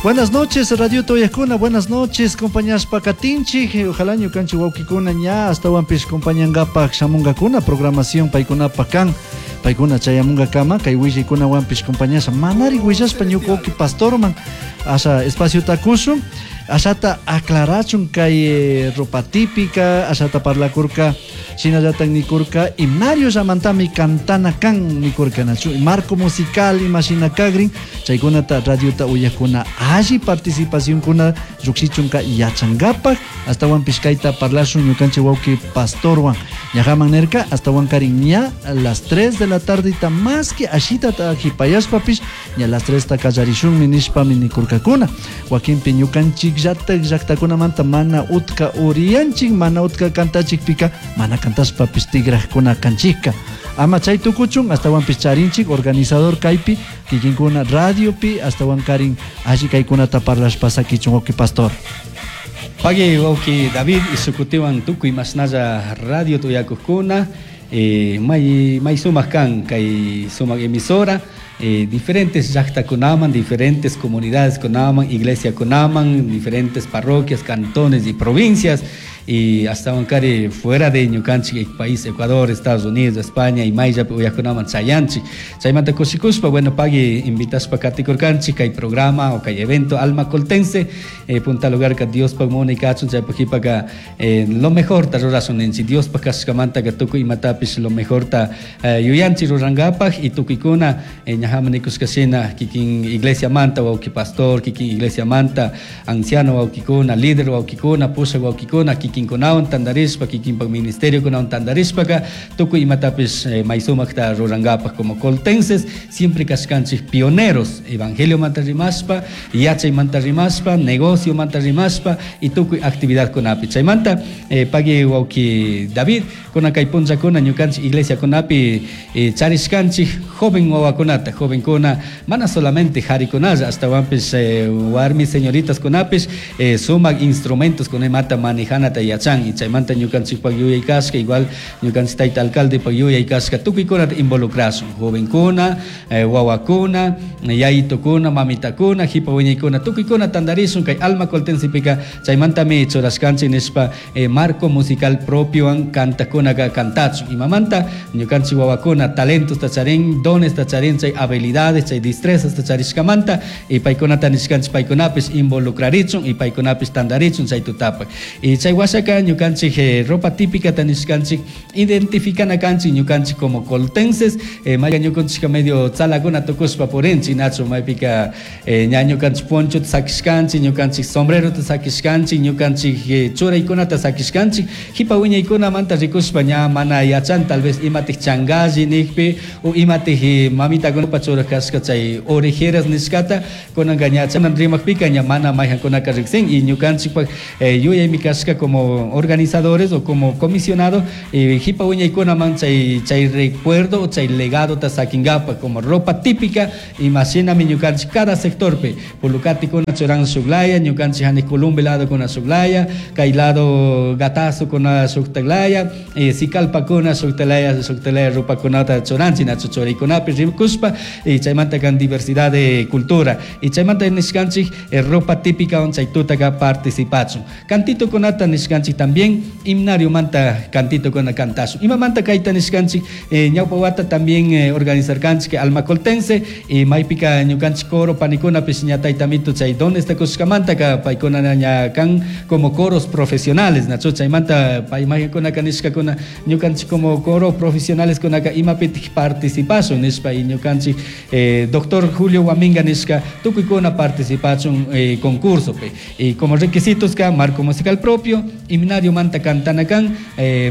Buenas noches, Radio Toyakuna, buenas noches, compañeras Pacatinchi, ojalá ñukanchik wawkikuna ña astawanpish compañangapak shamungakuna programación paykunapak kan, paykuna chayamungakama kay willaykunawanpish compañasha manari willashpa ñuka wawki pastorman asha espaciota kushun, ashata aclarachun kay ropa típica, ashata parlakurka, shinallatak nikurka himnario llamantami cantana kan nikurka nachu marco musical imashina kagrin chaykunata radiota uyakuna alli participacionkuna llukshichunka yachankapak astawanpish kayta parlashun ñukanchik wawki pastorwan ñajaman nirka astawankarin ña a las 3 de la tardeta más que ashitata jipayashpapish ña las 3 ta kallarishunmi nishpami nikurkakuna wakinpi ñukanchik llatak llaktakunamanta mana utka uriyanchik mana utka kantachikpika mana kantashpapish tigrajkuna kanchikka ama chay tukuchun astawanpish charinchik organizador kaypi kikinkuna radiopi astawankarin alli kaykunata parlashpa sakichun wawki pastor. Pagui wawki David isukutiwan tukuy mashnalla radio tuyakukuna may may sumak kan kay sumak emisora diferentes llaktakunaman, diferentes comunidades kunaman, iglesia kunaman, diferentes parroquias, cantones y provincias y hasta kari fuera de ñukanchik país Ecuador, Estados Unidos, España y mayllapi uyakunaman chayanchik. Chaymanta kushikuspa, bueno, pagui invitashpa katikurkanchik kay programa o kay evento Alma Coltense, punta lugar ka Diospaj munay kachun chaypaj qhipaka lo mejor ta rurasun ninchik Diospaj kashkamanta ka tukuy imatapish lo mejor ta yuyanchik rurankapaj y tukuykuna ñajaman nikushkashina kikin iglesia manta wawki pastor, kikin iglesia manta anciano wawkikuna, líder wawkikuna, pushak wawkikuna, kikinkunawan tantarishpa, kikinpak ministerio kunawan tantarishpaka tukuy imatapish may sumakta rurankapaj como coltenses siempre kashkanchik pioneros evangelio manta rimashpa, yachay manta rimashpa, negocio manta rimashpa y tukuy actividad kunapi. Chaymanta pagui wawki David kuna kay punllakuna ñukanchik iglesia kunapi charishkanchik joven wawakunata, jovenkuna mana solamente jarikunalla astawanpish warmi señoritas kunapish sumak instrumentos kunamanta manejanata yachan y chaymanta ñukanchikpak yuyay kashka igual ñukanchik tayta alcaldepak yuyay kashka tukuykunata involucrashun jovenkuna, wawakuna, yayitukuna, mamitakuna, jipa wiñaykuna tukuykuna tantarishun kay Alma Coltensepika chaymantami churashkanchik nishpa marco musical propiowan kantakunaka kantachun imamanta ñukanchik wawakuna talentos charin, dones charin, chay habilidades, chay destrezas charishkamanta y paykunata nishkanchik paykunapish involucrarichun y paykunapish tantarichun chay tutapak. Y chay washaka ñukanchik ropa típica nishkanchik identificana kanchik ñukanchik como coltenses, maya ñukanchika medio tzalakuna tukushpa purinchik nachu maypika ña ñukanchik ponchota sakishkanchik, ñukanchik sombrerota sakishkanchik, ñukanchik churaykunata sakishkanchik, jipa wiñaykunamanta rikushpa ña mana yachan tal vez imatik changalli nikpi o imatik mamitakunapa churaj kashka chay orejeras nishkata kunanka ña chanan rimakpika ña mana mayjankunaka riksin y ñukanchikpak yuyaymi kashka como organizadores o como comisionado jipa wiñaykunaman chay chay recuerdo o chay legadota sakinkapa como ropa típica imashinami ñukanchik cada sectorpi Pulucatikuna churan shuklaya ñukanchik hanik Columbe lado kuna shuklaya kay lado Gatazo kuna shuktaklaya Sicalpakuna shuktalaya shuktalaya rupakunata churanchik nachu churaykunapi rikushpa y chaymanta kan diversidad de cultura y chaymanta nishkanchik ropa típica on chay tutaka participachun cantito kunata nishkanchik también himnario manta cantito kuna kantashun imamanta kayta nishkanchik ñawpa wata también organizarkanchik Alma Coltense y maypika ñukanchik coro panikunapish ña taytamito chay dones kushkamanta ka paykuna ña kan como coros profesionales nachu chaymanta pay maykunaka nishkakuna ñukanchik como coro profesionales kunaka imapitik participashun nishpa y ñukanchik doctor Julio Huaminga nishka tukuykuna participachun concursopi y como requisitos ka marco musical propio himnario manta kantana kan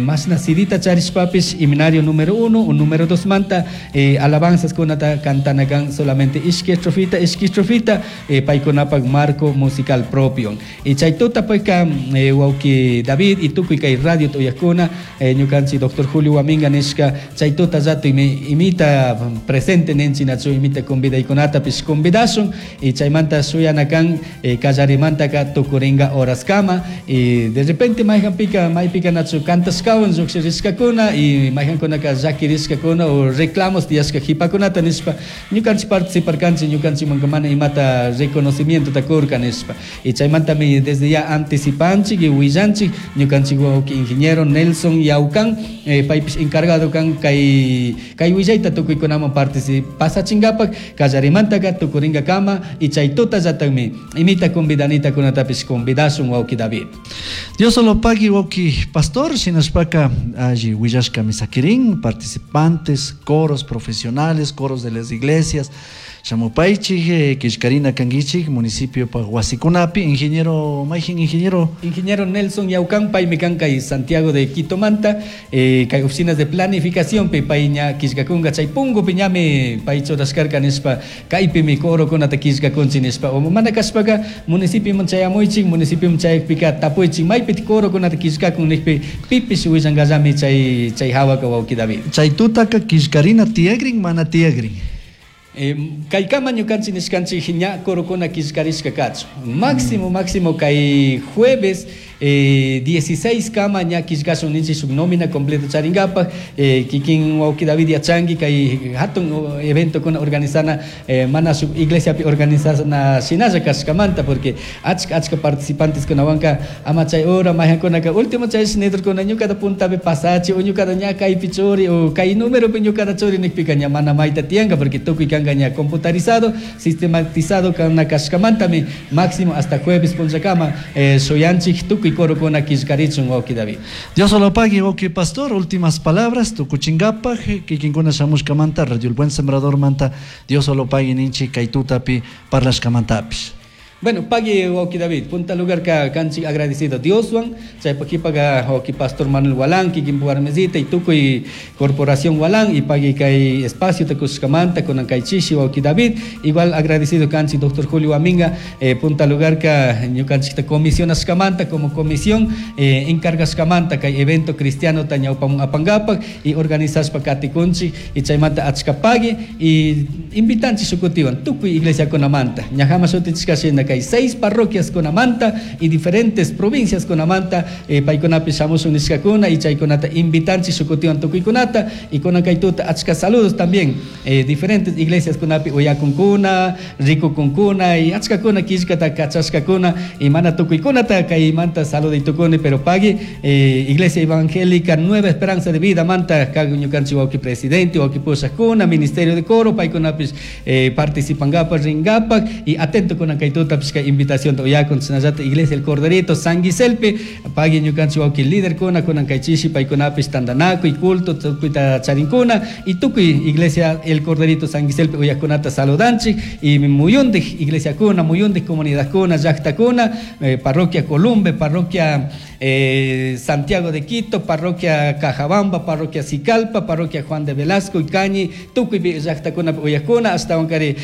mashna sidita charishpapish himnario número 1 o número 2 manta alabanzas kunata kantana kan solamente ishki estrofita ishki estrofita paykunapak marco musical propio y chay tuta payka wawki David y tukuy kay radio tuyakuna ñukanchik doctor Julio Huaminga nishka chay tuta rato imita presente ninchik nachu imita convidaykunatapish convidashun y chaymanta shuyana kan kallarimantaka tukuringa horaskama y de repente repente mayhanpika maypika nachu cantashkawan llukshirishkakuna y mayhankunaka llakirishkakuna o reclamos tiyashka jipakunata nishpa ñukanchik participarkanchik ñukanchikmanka mana imata reconocimientota kurka nishpa. Y chaymantami desde ya anticipanchik y willanchik ñukanchik wawki ingeniero Nelson Yaucan paypish encargado kan kay kay willayta tukuykunaman pasachinkapak kallarimantaka tukuringakama y chay tutallatakmi imita convidanitakunatapish convidashun wawki David. Dios solo pagui wawki pastor shinashpaka alli willashkami sakirin participantes, coros profesionales, coros de las iglesias shamupaychik killkarina kankichik municipio pa wasikunapi ingeniero mayjin ingeniero Ingeniero Nelson Yaucan paymi kan kay Santiago de Quito manta kay oficinas de planificación pi pay ña killkakunka chay punkupi ñami pay churashkarka nishpa kaypimi corokunata killkakunchik nishpa o mana kashpaka municipioman chayamuychik municipioman chayakpika tapuychik maypi corokunata killkakun nishpi pipish willankallami chay chay hawaka wawki David. Chay tutaka killkarina tiyagrin mana tiyagrin. Kaykama ñukanchik nishkanchik ña corokuna killkarishka kachun máximo máximo kay jueves 16 kama ña killkashun ninchik shuk nómina completo charinkapak kikin wawki David yachanki kay hatun eventokuna organizana mana shuk iglesiapi organizana shinalla kashkamanta porque achka achka participantes kunawanka ama chay hora mayhankunaka último chay nidurkuna ñukata puntapi pasachi o ñukata ña kaypi churi o kay numeropi ñukata churi nikpika ña mana mayta tiyanka porque tukuy kanka ña computarizado, sistematizado kana kashkamantami máximo hasta jueves punllakama shuyanchik tukuy corokuna killkarichun wawki David. Dios solo pagui wawki pastor, últimas palabras tukuchinkapaj kikinkuna shamushkamanta Radio El Buen Sembrador manta Dios solo pagui ninchik kay tutapi parlashkamantapish. Bueno, pagui wawki David, punta lugar ka kanchik agradecido Dioswan, chaypa kipaga wawki pastor Manuel Walán, kikin warmesita y tukuy corporación Walán y pagui kay espacio tukushkamanta kunan kay chishi wawki David, igual agradecido kanchik doctor Julio Aminga, punta lugar ka ñukanchikta comisionashkamanta como comisión encargashkamanta kay evento cristiano ta ñawpamun apangapak y organizashpa katikunchik y chaymanta achka pagui y invitanchik shukutiwan tukuy iglesia kunamanta, ñajama shutichikashina kay 6 parroquias kunamanta y diferentes provincias kunamanta paykunapi shamushun nishkakuna y chaykunata invitanchik shukutiwan tukuykunata y kunan kay tuta achka saludos también diferentes iglesias kunapi uyakunkuna rikukunkuna y achkakuna killkata kachashkakuna y mana tukuykunata kaymanta saludo y tukuni pero pagui Iglesia Evangélica Nueva Esperanza de Vida manta kag ñukanchik wawki presidente wawki pushakuna ministerio de coro paykunapis participangapak ringapak y atento kunan kay tuta kay invitación uyakun chinallata Iglesia El Corderito San Giselpe pagui ñukanchik wawki líder kuna kunan kay chishi paykunapis tandanakuy culto tukuyta charinkuna y tukuy Iglesia El Corderito San Giselpe uyakunata saludanchik y muyundik iglesia kuna muyundik comunidad kuna llaqta kuna parroquia Columbe, parroquia Santiago de Quito, parroquia Cajabamba, parroquia Sicalpa, parroquia Juan de Velasco y Cañi, tukuy llaqtakuna uyakuna hasta wankari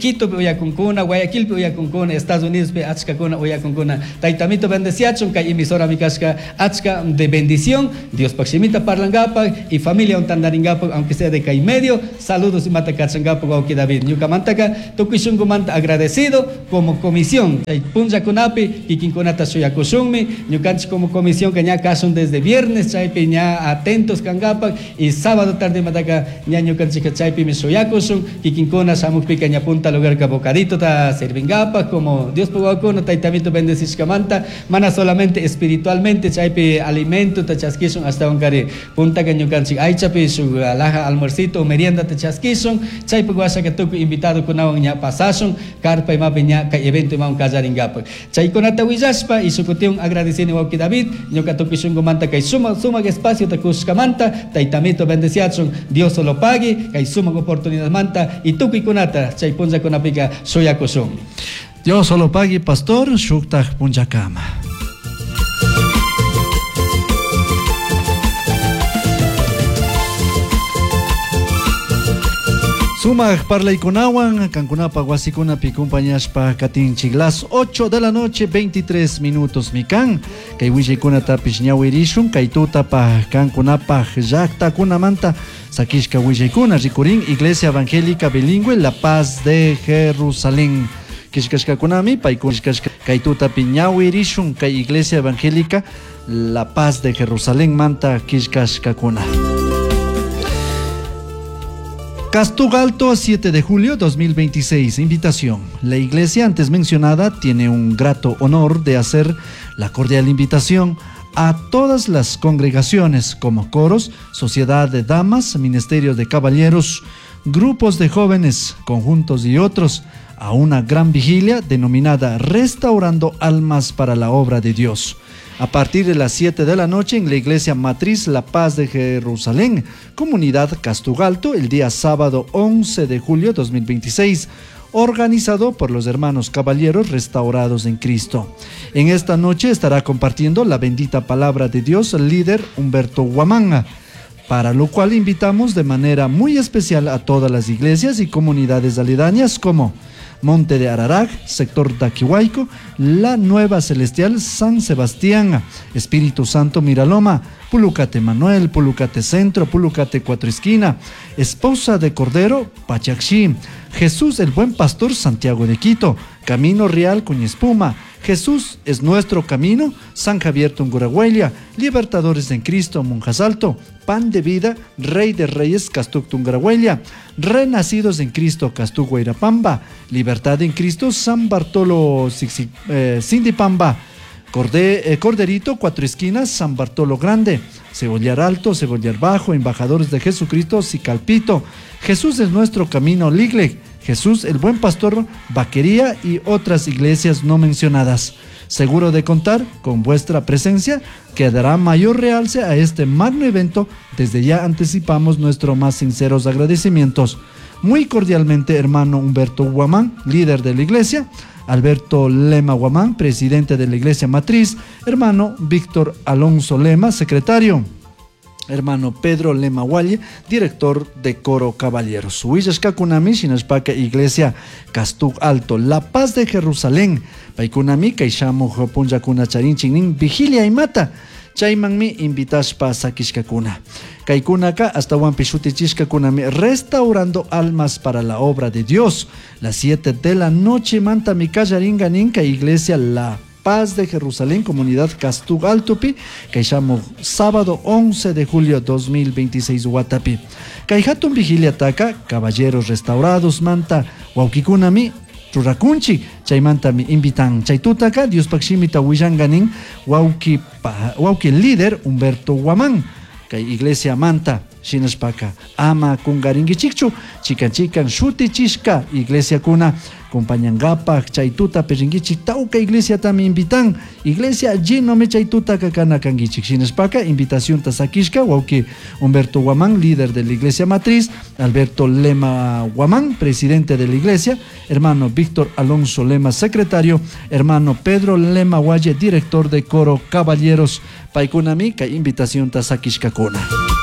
Quito uyakunkuna, Guayaquil uyakunkuna, Estados Unidos achkakuna uyakunkuna. Taytamito bendeciachun kay emisora mikashka achka de bendición, Dios pakshimita parlangapak y familia untandaringapak aunque sea de kay medio, saludos y mata kachangapak wawki David ñukamantaka tukuy shunkumanta agradecido como comisión chay punllakunapi kikinkunata shuyakushunmi ñukanchik como comisión que ña kasun desde viernes chaypi ña atentos kangapak y sábado tarde mataka ña ñukanchika chaypimi shuyakushun kikinkuna shamukpika ña punta lugar ka bocadito ta servingapak como Dios pugakuna taytamito bendecishkamanta mana solamente espiritualmente chaypi alimento ta chaskishun hasta wankari puntaka ñukanchik aychapi shuk alhaja almuercito o merienda ta chaskishun chaypi washaka tukuy invitado kunawan ña pasashun karpa imapi ña kay evento imawan kallaringapak chaykunata willashpa y shukutiwan agradecini wawki David ñuka tukuy shunkumanta kay sumak sumak espacio ta kushkamanta taytamito bendeciachun Dios solo pagui kay sumak oportunidad manta y tukuykunata chay punllakunapika shuyakushun. Dios solo pagui pastor shuktaj punllakama. Sumak parlaykunawan kankunapa wasikunapi compañashpa katinchik las 8 de la noche 23 minutos mikan kay willaykunatapish ñawirishun kay tutapa kankunapaj llaqtakunamanta sakishka willaykuna rikurin Iglesia Evangélica Bilingüe La Paz de Jerusalén. Killkashkakunami paykuna kay tutapi ñawirishun kay Iglesia Evangélica La Paz de Jerusalén manta killkashkakuna. Castug Alto, 7 de julio 2026. Invitación. La iglesia antes mencionada tiene un grato honor de hacer la cordial invitación a todas las congregaciones como coros, sociedad de damas, ministerios de caballeros, grupos de jóvenes, conjuntos y otros, a una gran vigilia denominada Restaurando Almas para la Obra de Dios. A partir de las 7 de la noche en la iglesia Matriz La Paz de Jerusalén, comunidad Castugalto, el día sábado 11 de julio 2026, organizado por los hermanos caballeros restaurados en Cristo. En esta noche estará compartiendo la bendita palabra de Dios el líder Humberto Huamanga, para lo cual invitamos de manera muy especial a todas las iglesias y comunidades aledañas como Monte de Ararac, sector Daquihuayco, La Nueva Celestial, San Sebastián, Espíritu Santo Miraloma, Pulucate Manuel, Pulucate Centro, Pulucate Cuatro Esquina, Esposa de Cordero, Pachaxí, Jesús el Buen Pastor, Santiago de Quito, Camino Real Espuma, Jesús es nuestro camino, San Javier Tunguragüelia, Libertadores en Cristo, Monjas Alto, Pan de Vida, Rey de Reyes, Castuc Tunguragüelia, Renacidos en Cristo, Castuc Guairapamba, Libertad en Cristo, San Bartolo Sindipamba, Corderito, Cuatro Esquinas, San Bartolo Grande, Cebollar Alto, Cebollar Bajo, Embajadores de Jesucristo, Sicalpito, Jesús es nuestro camino, Ligle, Jesús el Buen Pastor, Vaquería y otras iglesias no mencionadas. Seguro de contar con vuestra presencia, que dará mayor realce a este magno evento. Desde ya anticipamos nuestros más sinceros agradecimientos. Muy cordialmente, hermano Humberto Guamán, líder de la iglesia, Alberto Lema Guamán, presidente de la iglesia matriz, hermano Víctor Alonso Lema, secretario, hermano Pedro Lema Walle, director de Coro Caballeros. Huillashkakunami, shinashpaka Iglesia Castug Alto, La Paz de Jerusalén, paykunami kay punllakuna charinchik vigilia imata, chaymanmi invitashpa sakishkakuna. Kaykunaka astawanpi shutichishkakunami restaurando almas para la obra de Dios. Las 7 de la noche manta mi kallaringa ninka Iglesia La Paz de Jerusalén, comunidad Castug Altopi, llamo sábado 11 de julio 2026 Guatapi. Kay hatun vigilia taka, caballeros restaurados manta wawkikunami rurakunchik, chaymantami invitan. Chaytutaka Diospaq shimita willanganin wawki wawki líder Humberto Guamán, kay iglesia manta shinashpaka ama kungarinkichikchu, chikan chikan shutichishka iglesiakuna compañangapaj chaytuta perrinkichik tawka iglesiatami invitan, iglesia llenomi chaytutaka kana kankichik shinashpaka invitacionta sakishka wawki Humberto Guamán, líder de la iglesia matriz, Alberto Lema Guamán, presidente de la iglesia, hermano Víctor Alonso Lema, secretario, hermano Pedro Lema Guaye, director de coro Caballeros. Paykunami kay invitacionta sakishkakuna.